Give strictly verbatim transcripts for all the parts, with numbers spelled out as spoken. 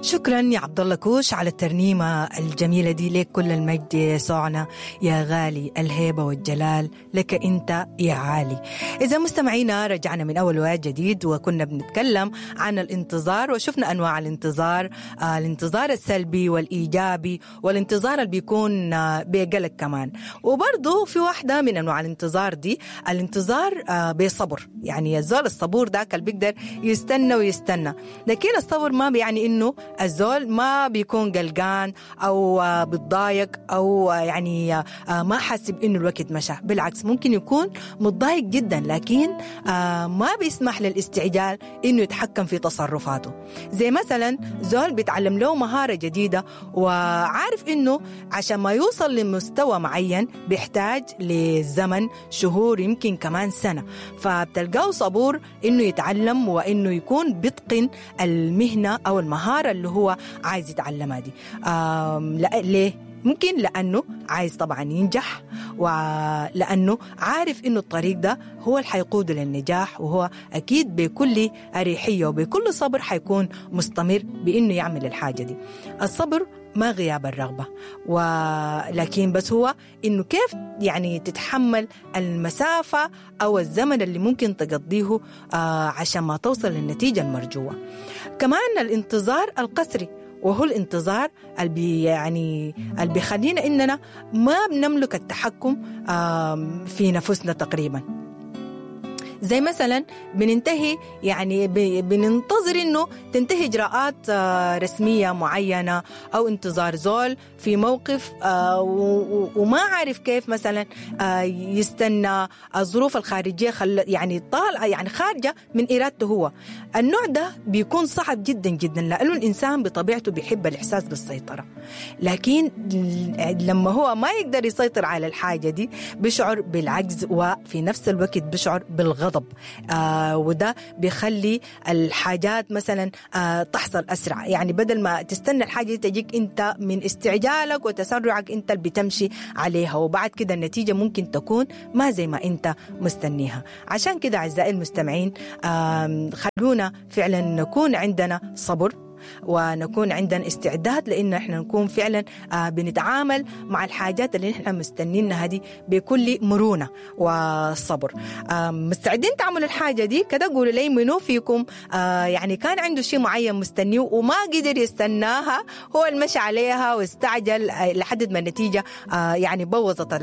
شكرا يا عبد الله كوش على الترنيمة الجميلة دي، لك كل المجد يا يسوعنا يا غالي، الهيبة والجلال لك أنت يا عالي. إذا مستمعينا رجعنا من أول وقت جديد، وكنا بنتكلم عن الانتظار وشفنا أنواع الانتظار، آه الانتظار السلبي والإيجابي والانتظار اللي بيكون آه بقلق كمان. وبرضو في واحدة من أنواع الانتظار دي الانتظار آه بصبر، يعني الزول الصبور ذاك اللي بيقدر يستنى ويستنى، لكن الصبر ما بيعني إنه الزول ما بيكون قلقان أو بتضايق أو يعني ما حاسب إنه الوقت مشى، بالعكس ممكن يكون متضايق جدا، لكن ما بيسمح للاستعجال إنه يتحكم في تصرفاته. زي مثلا زول بيتعلم له مهارة جديدة وعارف إنه عشان ما يوصل لمستوى معين بيحتاج لزمن شهور يمكن كمان سنة، فبتلقاه صبور إنه يتعلم وإنه يكون بيتقن المهنة أو المهارة اللي هو عايز يتعلمها دي. لا ليه؟ ممكن لأنه عايز طبعا ينجح، ولأنه عارف إنه الطريق ده هو اللي حيقوده للنجاح، وهو أكيد بكل أريحية وبكل صبر حيكون مستمر بإنه يعمل الحاجة دي. الصبر ما غياب الرغبة، ولكن بس هو إنه كيف يعني تتحمل المسافة أو الزمن اللي ممكن تقضيه عشان ما توصل للنتيجة المرجوة. كمان الانتظار القسري، وهو الانتظار اللي يعني اللي بيخلينا إننا ما بنملك التحكم في نفسنا تقريبا. زي مثلا بننتهي يعني بننتظر إنه تنتهي إجراءات رسمية معينة أو انتظار زول في موقف وما عارف كيف مثلا يستنى الظروف الخارجية خل يعني طالعة يعني خارجة من إرادته هو. النوع ده بيكون صعب جدا جدا، لأنه الإنسان بطبيعته بيحب الإحساس بالسيطرة، لكن لما هو ما يقدر يسيطر على الحاجة دي بيشعر بالعجز، وفي نفس الوقت بيشعر بالغضب، آه وده بيخلي الحاجات مثلا آه تحصل أسرع. يعني بدل ما تستنى الحاجة تجيك أنت من استعجالك وتسرعك أنت اللي بتمشي عليها، وبعد كده النتيجة ممكن تكون ما زي ما أنت مستنيها. عشان كده أعزائي المستمعين آه خلونا فعلا نكون عندنا صبر، ونكون عندنا استعداد لأن احنا نكون فعلا بنتعامل مع الحاجات اللي احنا مستنينها دي بكل مرونة وصبر. مستعدين تعملوا الحاجة دي كده؟ قولوا لي منو فيكم يعني كان عنده شيء معين مستنيه وما قدر يستناها، هو المشي عليها واستعجل لحد ما النتيجة يعني بوظت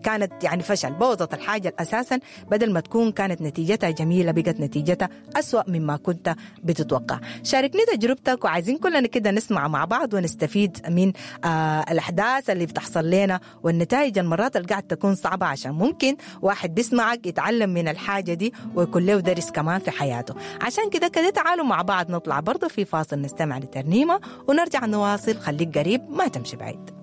كانت يعني فشل، بوظت الحاجة أساسا، بدل ما تكون كانت نتيجتها جميلة بقت نتيجتها أسوأ مما كنت بتتوقع. شاركني تجربتك، وعايزين كلنا كده نسمع مع بعض ونستفيد من آه الأحداث اللي بتحصل لنا والنتائج المرات اللي قاعد تكون صعبة، عشان ممكن واحد بيسمعك يتعلم من الحاجة دي ويكون له درس كمان في حياته. عشان كده كده تعالوا مع بعض نطلع برضه في فاصل نستمع لترنيمة ونرجع نواصل. خليك قريب ما تمشي بعيد.